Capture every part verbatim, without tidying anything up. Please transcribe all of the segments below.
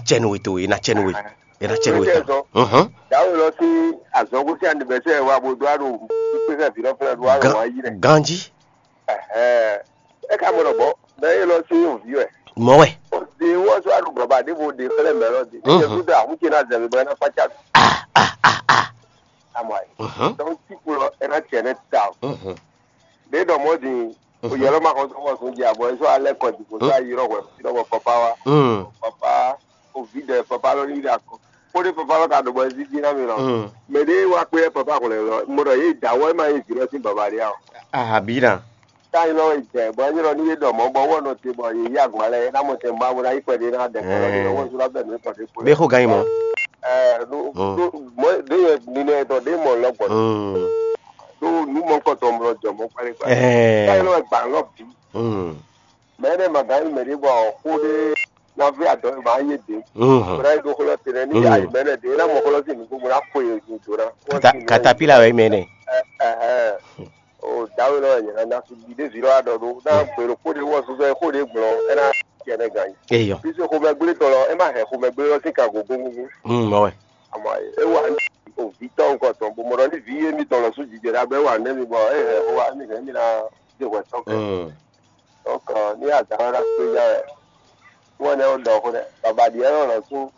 Cɛnu we to, e na cɛnu we. E na cɛnu we ta. Mhm. Dawe lɔ sín azɔngo sín anivɛsɛ wa bo do alo kpékpé vǐ lɔ fɛnɛ do alo Gan- wa yi rɛ. Ganji. Ɛhɛn. E ka mɔ nɔ bɔ mɛ e lɔ sín ovi wɛ. Mɔ wɛ. O de wɔ so alo baba de bo de xlɛ mɛ lɔ de. Mhm. E kudo ahun ce na zɛbi bɔ e na fa ca. Ah ah ah ah. Amɔ ayi. Mhm. Donc ti kplɔ e na cɛ ne ta. Mhm. Ɖě ɖɔ mɔ̌ din, oyɛlɔ ma xɔ sɔ́ xɔ sún jɛ abɔ, é sɔ́ alɛ kɔ dǐ, bó sɔ́ ayi ɖɔ hwɛ, fí ɖɔ bɔ papa wá. Mm. Papa, ovi ɖɛ papa lɔ ní ɖe akɔ. Kpóɖé papa lɔ ka ɖo bɔ é zízí ná mi lɔ. Mm. Mɛ ɖé wá kpé papa hwlɛ̌ lɔ, mo ɖɔ yé dǎ wɛ ma yé vǐ lɔ sín baba ɖé a o. Ahabina. Tá yi lɔ jɛ, bɔ é nyí lɔ ní yé ɖɔ mɔ̌, bɔ wɔ nɔ te, bɔ yě yí agban lɛ, é ná mɔ tɛn ba, bó ná yí kpɛɖé ná ɖɛ kpɛɖé, Ɛɛ. Wɔ sún ná bɛ nǔ tɔn ɖé kpó. Bɛ xo gan yi mɔ. Ɛɛ, ɖó, Mm. Ɖó, mɔ̌ ɖé yɛ ninɛ tɔ ɖé mɔ lɔ gbɔ. Mm. Ɖó nǔ mɔkɔtɔ mlɔ jɔ mɔ kpɛɖé kpɛɖé. Ɛɛ. Tá yi lɔ gba lɔ bǐ. Mm. Mɛ ɖé ma gán yi mɛ ɖé bɔ xó ɖé ná vɛ adɔ ma yé dě. Mhm. Bó ná yi ɖó xlɔ́ tɛnɛ ní Mm. ayi mɛ nɛ dě, é ná mɔ xlɔ́ sí nǔgbó bó ná xo yě do ná. Kata- katapila wɛ mɛ nɛ. Ɛhɛn. O dawe lɔ yɛ na na fi bi ɖe vi lɔ adɔ ɖo na gbèrò kó ɖe wɔ zuzɔ kó ɖe gblɔ ɛ na tiɛ nɛ gan yi. Eyɔ. Fi se xomɛgblé tɔ lɔ ɛ ma hɛ xomɛgblé lɔ sí ka gogo gogo. Mm, mɔ wɛ. Àmọ́ ẹ wà ní òbí tɔ nǹkan tán bó mọ ní vi yé mi tɔn lọ sún jìjẹ dá bẹ wà nẹmi bọ ẹ hẹ wá mi hẹ mi na dé wẹ tán kẹ. Mm. Donc ní àdáwà pé yá ẹ wọn ní ọdọ ọkọ dẹ bàbá diẹ lọ lọ sún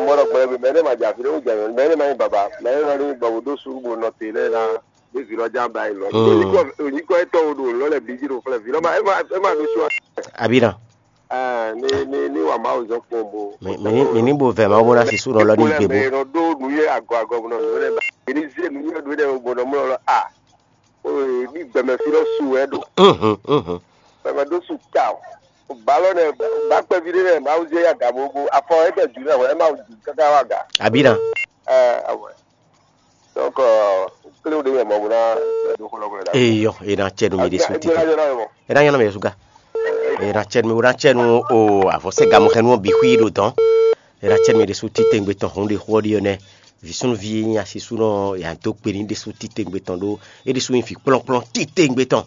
mọdọ gbẹrẹ bi mẹ ní ma jà fi ní wújà yọ mẹ ní ma nyí bàbá mẹ ní lọ ní bàbá dó sùúrù bó nọ tè lẹ na ní vi lọ já ba yìí lọ. Mm. Òyìnkọ ètò odò lọlẹ bí jírò fúnlẹ vi lọ ma ẹ ma ẹ ma lọ sún. Àbí náà. Ní ní ní wà máa zọ kpɔn bò. Mɛ ní bò vɛ máa bó ná si sú nɔ lɔ ní gbé bó. Nɔ ɖó nu yɛ agɔ agɔ nɔ nɔ lɛ ba. Ní zé nu yɛ ɖó ɖɛ bò nɔ mlɔ lɔ a. Ní gbɛmɛ fi lɔ su wɛ ɖo. Gbɛmɛ ɖó su ta o. Balɔ nɛ ba kpɛvi ɖé nɛ máa zé ya gabo go afɔ ɛtɛ ju nɛ wɛ ɛ ma ju kaka wa ga. Àbí na. Ɛ awɛ. Donc, kle ɖe mɛ mɔ bó ná ɖo xɔ lɔgɔ la. Eyɔ, e na cɛ nu mi ɖe su tete. E na nyɔnɔ mɛ suga. E na cɛ nu mi, o na cɛ nu o avɔsɛ gamu xɛ nu bi xui ɖo dɔn. E na cɛ nu mi ɖe su tete ŋgbe tɔn hun ɖe xɔ ɖi nɛ. Visunvi nyi asisúnɔ ya do kpe ni ɖe su tete ŋgbe tɔn ɖo. E ɖe su nyi vi kplɔnkplɔn tete ŋgbe tɔn.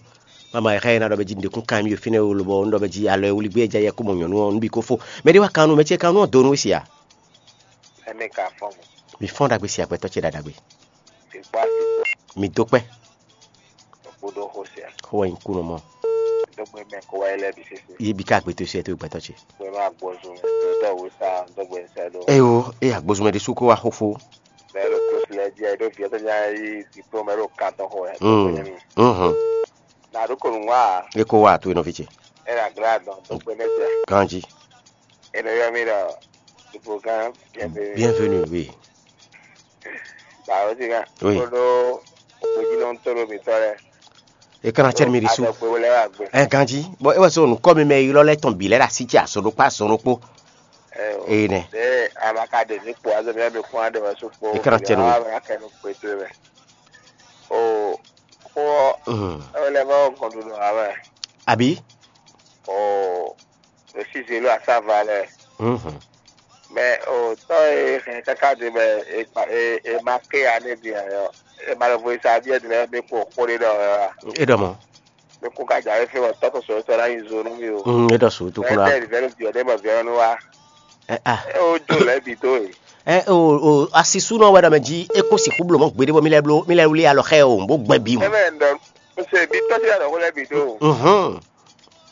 Mama e xɛ na ɖɔ bɛ ji ndekun kan mi fínɛ o lobɔ un ɖɔ bɛ ji alɔ e wuli gbé ja yɛ ko mɔ nyɔnu ɔ un bi ko fo. Mɛ ɖe wa kan nu mɛ ce kan nu ɔ do nu sia. Ɛnɛ ka fɔn mo. Mi fɔn ɖagbe si agbɛtɔ ce ɖaɖagbe. Ti kpa ti kpa. Mi do kpɛ. Kpo ɖo xo sia. Xo wɛ nyi kunɔ mɔ. Do gbe mɛ ko wa ilɛ bi sese. Yi bi ka agbetɔ sia to gbɛtɔ ce. Gbe ma gbɔzun mɛ. Do wo sa do gbe sa do. Eyo, e agbozun mɛ ɖe su ko wa xo fo. Mɛ lo ko silɛ di ayi do viɛ to nya yi diplôme lo kan tɔn xo wɛ. Mm. Mhm. Na ɖo ko nǔ wa. E ko wa to e nɔvi ce. E na gra dɔn to gbe ne sia. Ganji. E nɔ yɔ mi ɖɔ Dupogán bienvenue. Bienvenue, oui. Ba o ti kan. Oui. Ko ɖo gbejinɔ to ɖo mi tɔ lɛ. E kana cɛ mi ɖi su. Adɔgbe wo lɛ wa gbe. Ɛ ganji. Bɔn e wɛ so nukɔ mi mɛ ylɔ lɛ tɔn bi lɛ ɖe asi ce azɔn ɖokpó azɔn ɖokpó. Ɛ o. Ee nɛ. Ɖe a ma ka ɖe mi kpo azɔ mi mi kpɔn aɖe wɛ so kpo. E kana cɛ nu. A ma kɛ nu kpe to mɛ. O. Xó ɔ́, é wɛ lɛ́ vɔ́ kɔn ɖo nɔ ǎ wɛ. Abǐ? Oo, ɖo síze ló asáva lɛ́ɛ. Mɛ o tɔ́ e hɛn káká ɖe mɛ e ma ké ya nɛ́ din ǎ ɔ́, e ma lɔ vo e sa byɔ́ din lɛ́ɛ mɛ kpo xó ɖé ɖɔ ɔ́ a? É ɖɔ mɔ̌. Mɛ kún ka jǎwe fí bɔ tɔ́ tɔn sɔ̌ sɔ́ ná nyi zo nú mì o. Mm, é ɖɔ sǔ tó kún ná. Ɛtɛ vǐvɛ́ nú vǐ ɔ́ ɖé mɔ vǐ ɔ́ nú wá. Ɛ a. É wó jó lɛ̌ bǐ dó e. Ɛ o o asi súnɔ wɛ ɖɔ mɛ jí é kó sixú bló mɔ̌ gbeɖé bɔ mí lɛ́ bló mí lɛ́ wlí alɔ xá ɛ o bó gbɛ bí mɔ. Ɛ mɛ ɖɔ un se bí tɔ́ sí alɔ xó lɛ́ bǐ dó. Mhm.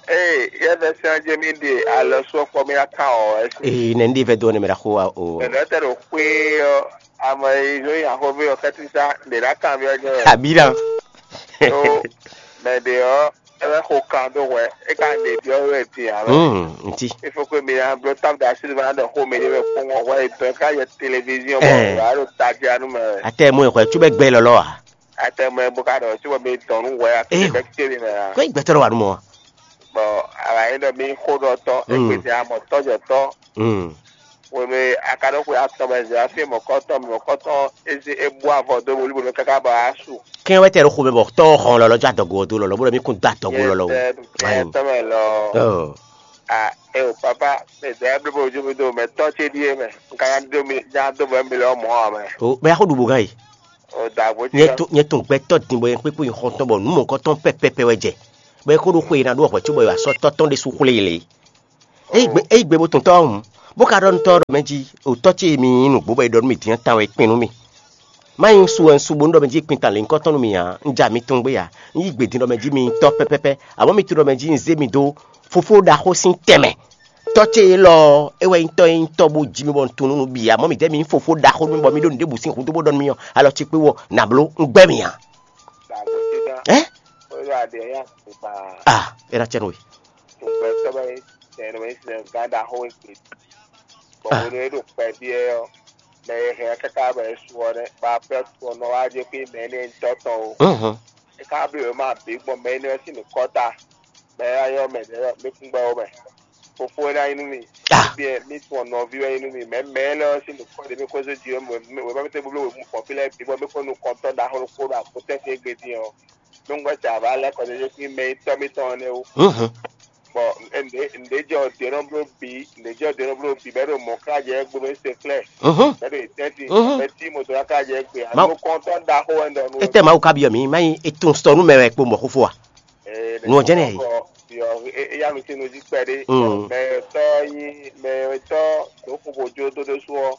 Ee yɛ vɛ sɛn jɛ mí ɖe alɔ sɔ kpɔ mí aka ɔ ɛ sí. Ee nɛ ndé vɛ dó ne mɛ ɖa xó wa o. Mɛ ɖɔ tɛ ɖo xwé ɔ ame yi zó yi axɔvé ɔ kɛtí sá ɖe ɖa kan mí ɔ jɛ. Abi ɖa. Tó mɛ ɖe ɔ ɛ bɛ xo kan dó hwɛ é ka ɖe ɖiɔ wɛ ti alo. Hmm, ŋti. Il faut que mi na bló table de silva na ɖe xó mi ɖe wɛ kpɔn hwɛ yi tɔ ka yɛ télévision bɔ Ɛɛ. Wa ɖo tadia nu mɛ wɛ. Atɛ mo xɔ tsu bɛ gbɛ lɔlɔ a. Atɛ mo bó ka ɖɔ tsu bɔ mi tɔn nu hwɛ a Ee. Kele bɛ kele mɛ a. Kɔ gbɛtɔ wa nu mɔ. Bɔn ala yi ɖɔ mi xó ɖɔ tɔ Hmm. Ekpete amɔ tɔjɔ tɔ. Hmm. Webe akaɖoxwe atɔn mɛ zɛ afi mɔkɔtɔn mɔkɔtɔn ezi ebu avɔ do wolibo kaka ba asu. Kɛn wɛ tɛ ɖo xomɛ bɔ tɔ xɔn lɔlɔ jɔ adɔgo ɔ do lɔlɔ bó ɖɔ mi kún do adɔgo lɔlɔ o. Kɛn tɔ mɛ lɔ. Oh. A e o papa mɛ zɛ blo bo ju mi do mɛ tɔ ce die mɛ nka nya do mi nya do bɔ mi lɔ mɔ a mɛ. O bɛ yaxo ɖu bo gan yi. O da bo Nyɛ tiɔ. To nyɛ to gbɛtɔ din bɔ yɛn kpekpe yi xɔntɔn bɔ nu mɔkɔtɔn pɛpɛpɛ wɛ jɛ. Bɔ e ko ɖo xwe yi na ɖo hwɛ co bɔ yi asɔ tɔtɔn ɖe su xwle yi le. Eyi gbe eyi gbe bo tɔn tɔ hùn. Bó ka ɖɔ nú tɔ́ ɔ́ ɖɔ mɛ jí, o tɔ́ ce e mi nyí nǔgbó bɔ è ɖɔ nú mì din ɔ́, tan wɛ é kpin nú mì. Má nyí un su wɛ un su bónú ɖɔ mɛ jí kpin tan lě nyǐkɔ tɔn nú mì ǎ. Un ja mi tɔn gbé ǎ. Un yí gbe din ɖɔ mɛ jí mi nyí tɔ́ pɛ́pɛ́pɛ́, amɔ̌ mi tunwun ɖɔ mɛ jí un zé mi dó fofó ɖaxó sín tɛnmɛ. Tɔ́ ce élɔ́ ɔ́, é wɛ nyí tɔ́ e nyí tɔ́ bó ji mì bɔ un tunwun nú nǔ bǐ ǎ. Amɔ̌ midɛɛ mi nyí fofó ɖaxó nú mì bɔ mi ɖó nǔɖébǔ sín hudó bó ɖɔ nú mì ɔ́, alɔ ce kpé wɔ nǎ bló un gbɛ́ mì ǎ. Ɛ? A, é ná cɛ nú we. Tɔgbɛtɔ́ wɛ tɛnɛ wɛ sɛn gán ɖaxó wɛ gbe. Bɔ hwenu e ɖo kpɛví ɛ ɔ́, mɛ e hɛn ɛ káká bɔ é su ɔ́ nɛ́, bɔ akwɛ́ to ɔ́ nɔ wá jɛ xwé mɛ énɛ́ nyitɔ́ tɔn o. É ká bló yě ma bǐ gbɔn mɛ énɛ́ ɔ́ sín nǔkɔ́ta. Mɛ e wá ylɔ́ mɛ ɖě ɔ́, mí kún gbɛ́ ó mɛ. Fofó wɛ ná nyí nú mì. Byɔ́ mí tun nɔví wɛ nyí nú mì. Mɛ mɛ lɛ́ɛ ɔ́ sín nǔkɔ́ ɖě mí xwezé jí ɔ́, wěma mɛ tɛ́ bló wěma kɔn fí lɛ́ɛ bǐ bɔ mí xwé nukɔntɔ́ ɖaxó ɖokpó ɖo akutɛ́ntin e gbe din ɔ́. Nú un gbɛ́ jɛ avǎ lɛ́ kɔ jɛ́jɛ́ sín mɛ nyitɔ́ mítɔn ɔ́ nɛ́ wú. Bɔ nǔɖé jɔ dě nɔ bló bǐ, nǔɖé jɔ dě nɔ bló bǐ bɔ é ɖo mɔ̌ káká jɛ gbe bɔ é se xlɛ́, bɔ é ɖo yě tɛ́ntin, bɔ é cí moto káká jɛ gbe. Mawu. Nukɔntɔ́ ɖaxó wɛ un ɖɔ nú we. Étɛ́ Mawu ka byɔ́ mǐ, má nyí è tunwun sɔ nú mɛ wɛ kpo mɔ̌ xófó a? Nǔ ɔ́ jɛ́n nɛ́ e. Yɔ éyá nukínnú jí kpɛɖé. Mɛ tɔ́ nyí mɛ tɔ́ ɖǒ xo bó jó dó ɖésú ɔ́,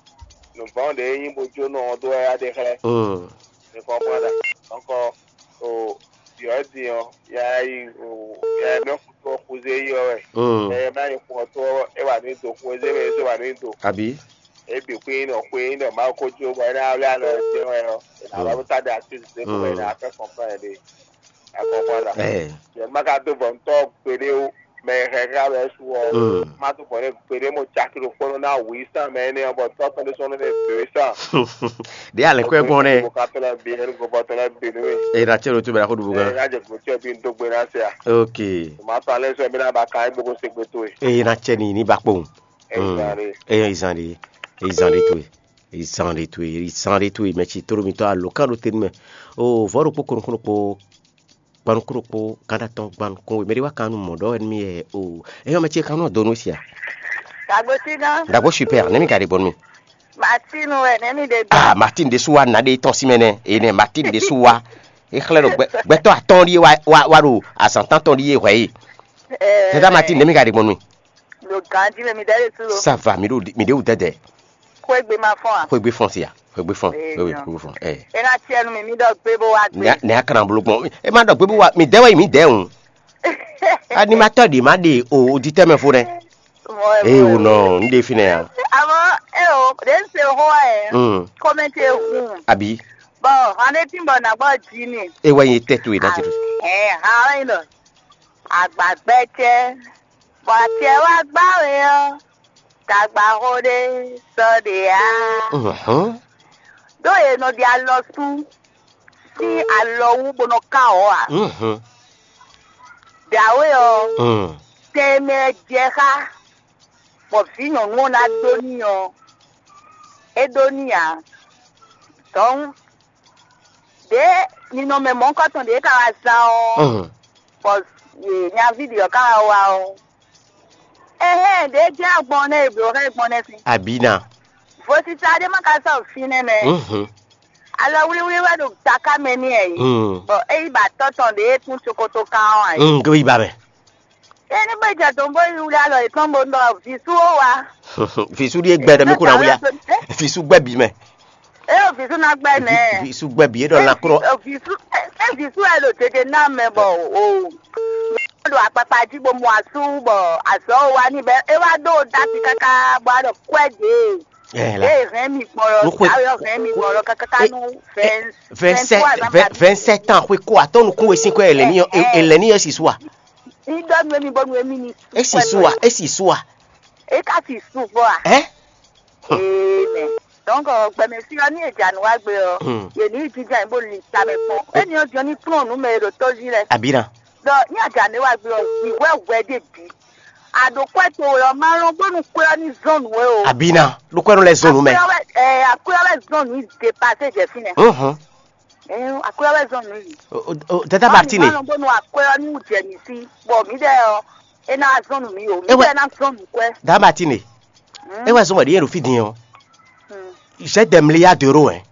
nǔvɔ́n ɖě nyí bó jó nɔ ɔ́ dó wɛ yá ɖe xlɛ́. Mi kɔn mɔ ɖa. Dɔnkɔ o yɔ din ɔ́, ya yi o ya yi mɛ xutó ɔ́ xuzé yi ɔ́ wɛ. Ɛ ma yi xu ɔ́ tó ɔ́, é wà ní do xu ezé mɛ é wà ní do. Abǐ. É bǐ xwé nyí nɔ xwé nyí nɔ Mawu ko jó bɔ é ná wlí alɔ ɛ jɛ wɛ ɔ́, é ná wá bó tá ɖe así zé bó wɛ é ná fẹ́ kɔnflán ɛ ɖe. Akɔkɔ la. Ɛ. Yɛ má ka dó vɔ ŋutɔ gbeɖé ó, mɛ e hɛn xá wɛ su ɔ́, má dó vɔ nɛ gbeɖé mo caki ɖokpónɔ ná wǐ sán mɛ énɛ́ ɔ́, bɔ tɔ́ tɔn ɖé sɔ́ nú nɛ dǒ é sán. Ɖě alɛ̌ kɔ́ ɛ gbɔn nɛ. Mo ka tɔ́ lɛ́ɛ bǐ, ɛni gɔbɔ tɔ́ lɛ́ɛ bǐ nú mì. Eye na cɛ ɖo tó bɛ na xó ɖu bú Ɛ gán. Ná jɛ glo tí ɛ bí ń dó gbe ná se à. Ok. Má tɔ́ alẹ́ sɔ ɛ bí ná ba ka é gbogbo se gbe towe. Eye na cɛ ni ní ba kpowun. Ẹ yi zan ɖe. Eye zan ɖe. Eye zan ɖe towe. Eye zan ɖe towe. Eye zan ɖe towe. Mɛ ci tóɖó mitɔ́ alo kán ɖo tɛ́nú mɛ. O vɔ̌ ɖokpó kɔnukún ɖokpó. Gbanukún ɖokpó gán ɖé atɔn gbanukún we. Mɛ ɖé wá kan nú mɔ̌ ɖɔ wɛ nú mì yɛ o. Eye mɛ ce kan nú donu sia. Dagbo sí gán. Dagbo super. Nɛ́ mi ka ɖe gbɔn nú mi? Martin wɛ nɛ́ mi ɖe gbɔn. Ah, Martin ɖésú wa nǎ ɖe tɔn sí mɛ nɛ́. Eye nɛ Martin ɖésú wa. E xlɛ́ ɖo gbɛ- gbɛtɔ́ atɔ́ɔ́n ɖíe wá wá wá ɖo azǎn tántɔn ɖíe hwɛ é. Tata Martin ɖě mi ka ɖe gbɔn nú mì? Ɖo ganjí mɛ mi ɖɛ́ ɖe sú lo. Ça va, mi ɖo mi ɖe wú dɛdɛ. Xwégbe ma fɔn a? Xwégbe fɔn sia. Xwégbe fɔn. Ee, Xwégbe jɔn. Xwégbe fɔn. Ɛ. E na tiɛ nu mi mi ɖɔ gbé bó wá gbé. Nɛ nɛ akran blo gbɔn. E ma ɖɔ gbé bó wá mi dɛ wɛ mi dɛ o. Animatɔ ɖe ma ɖe o oditɛ mɛ fo nɛ. Eye wò nɔ n ɖe fínɛ́ ya. Àmọ́ ẹ o, ɖě ń ṣe owó ẹ̀. Mm. Kọ́mẹ́ntì ehun. Àbí. Bɔn hɔn ɖé tí ń bɔ nǎ gbɔ jí ni. E wɛ nyi tɛ to yi na ti do. Ɛ hàn ẹ́ lọ. Àgbàgbẹ́ jẹ́. Bɔn àti ẹ wá gbáwé ọ́. Tagba xó ɖé sɔ ɖe á. Mhm. Ɖó è nɔ ɖi alɔ sú sín alɔ wú bó nɔ ká ɔ̌ ǎ. Mhm. Dǎwe ɔ́, Mm. tɛ e mɛ jɛ xá, bɔ vǐ nyɔ̌nu ɔ́ ná ɖó n'i ɔ́, é ɖó n'i ǎ. Dɔ̌n, ɖě ninɔmɛ mɔ̌hunkɔtɔn ɖě ka wá zán ɔ́, Mm. bɔ nyaví ɖě ɔ́ ka wá wá ɔ́, ɛhɛn, ɖě jɛ́n agbɔn nɛ́ e blǒ xá gbɔn nɛ́ sín. Abǐ ná. Vodíta ɖé má ka sɔ́ fínɛ́ mɛ. Mhm. Alɔ wlíwlí wɛ ɖo taká mɛ n'i ɛ yi. Mm. Bɔ é yi ba tɔ́ tɔn ɖě e tún cokoto kan ɔ́ ǎ. Mm, go yi ba mɛ. Eni bó jɛ dɔn bó yi wlí alɔ yětɔn bó ɖɔ vǐ sú ó wá. Vǐ sú ɖíe gbɛ ɖɔ mí kó ná wlí a. Vǐ sú gbɛ bǐ mɛ. É o vǐ sú ná gbɛ nɛ. Vǐ sú gbɛ bǐ é ɖɔ lakrɔ. Vǐ sú é vǐ sú ɛ ɖo dede ná mɛ bɔ o. Ɖo akpakpa jí bó mu asú bɔ azɔ wa ní bɛ é wá ɖó dati káká bó wá ɖɔ kwɛ dě. Ɛ la. Eye hɛn mi gbɔn lɔ, Nukwe- awo yɔ hɛn mi gbɔn lɔ kákáká nu vingt- vingt-sept, vingt-trois ans. Vingt-sept ans xwe ko atɔ́ nukún we sín kɔ ɛ lɛ ní yɔ ɛ lɛ ní yɔ si sua. Ní dɔ nu emi bɔ nu emi ni. Esi sua, esi sua. E ka si su fɔ a? Ɛ? Ee mɛ. Donc gbɛmɛ si ɔ ní e dza nu wa gbe ɔ. Hmm. Ye ní yi jija yi bó li ta mɛ kpɔn. Eni ɔ jɔ ní kplɔn nu mɛ e ɖo tɔ́ zi lɛ. Abina. Donc ní a dza ne wa gbe ɔ, yi wɛ wɛ de bi. Aɖo kwɛ towe ɔ́, ma lɔn bónú kwɛ ɔ́ ní zɔn nǔ we o. Abina, ɖo kwɛ nɔ lɛ zɔn nǔ mɛ. Akwɛ ɔ́ wɛ, ɛ, akwɛ ɔ́ wɛ zɔn nǔ yi depase jɛ fínɛ́. Mhm. Ɛ, akwɛ ɔ́ wɛ zɔn nǔ yi. O, o, o, Dada Martine. Ma lɔn bónú akwɛ ɔ́ ní wú jɛ mǐ sí, bɔ mǐ ɖɛ ɔ́, é ná zɔn nǔ mì o. Mǐ Ewɛ- ɖɛ ná zɔn nǔ kwɛ. Dada Martine. Hmm. E wɛ zɔn wɛ ɖi yɛ ɖo fí din ɔ. Hmm. J'ai des milliards d'euros, hein.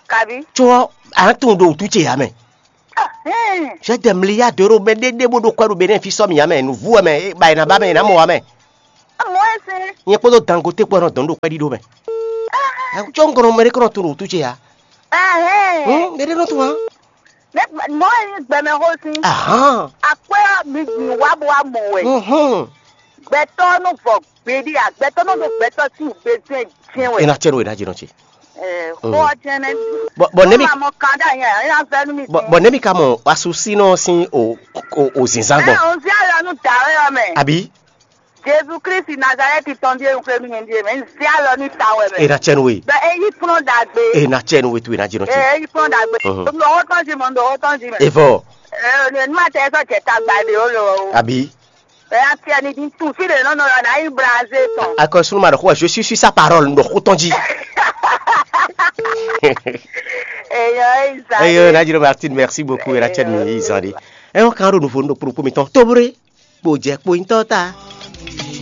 Kabi. Tso a tunwun ɖo wútu ce ya mɛ. Ahɛn. J'ai des milliards d'euros, mɛ ɖé ɖé bó ɖo kwɛ ɖo Benin fí sɔ mì ya mɛ, nǔvú wɛ mɛ, ba è nǎ ba mɛ, è nǎ mɔ wa mɛ. Amɔ Nyɛ kpódó Dangote kpó nɔ dɔn ɖo kpɛɖiɖo mɛ. Cɔ ŋkɔnɔ mɛ ɖé kɔnɔ tunɖun wútu ce ya. Hum, mɛ ɖé nɔ tún wa. Ne mɔ yi gbɛmɛ xó sín. Ahan. Akpɛ mi gbìn wá bó wá mɔ wɛ. Mhm. Gbɛtɔ nɔ vɔ gbèdí a gbɛtɔ nɔ ɖo gbɛtɔ sí gbèsè jẹn wɛ. Ena cɛ no ena jɛ nɔ ce. Xɔ jɛnɛ. Bɔ bɔ ne mi. Mɔ kan da yẹn ena fẹ́ nu mi. Bɔ bɔ ne mi ka mɔ asusinɔ sin o o o zinzan gbɔn. Ɛ o zi alɔ nu da wɛ yɔ mɛ. Abi. Jesu Kristi Nazareti tɔn ɖíe un xwé nú nyɛ ɖíe mɛ, un zé alɔ nú ta wɛ mɛ. Ena cɛ no we. Bɛ e yí kplɔ́n ɖagbe. Ena cɛ no we tu ena jɛ nɔ ce. E yí kplɔ́n ɖagbe. Mhm. Ɖo owó tɔn jí mɔ, ɖo owó tɔn jí mɛ. Evɔ. Ee, ne ma tɛ sɔ jɛ tagba ɖe o lo o. Abi. Ɛ ya tiɛ ni di tu fi ɖe nɔ nɔ yɔ na yi blaze tɔn. Akɔ sunu ma ɖɔ xó je suis sur sa parole ɖo xó tɔn jí. Eyɔ, eyi zan. Eyɔ, na jiro Martine, merci beaucoup. Ena cɛ no yi zan de. Ɛ wọn kan ɖo nuvo ɖo kpokpo mi tɔn tobre. Kpo jɛ kpo nyitɔ ta.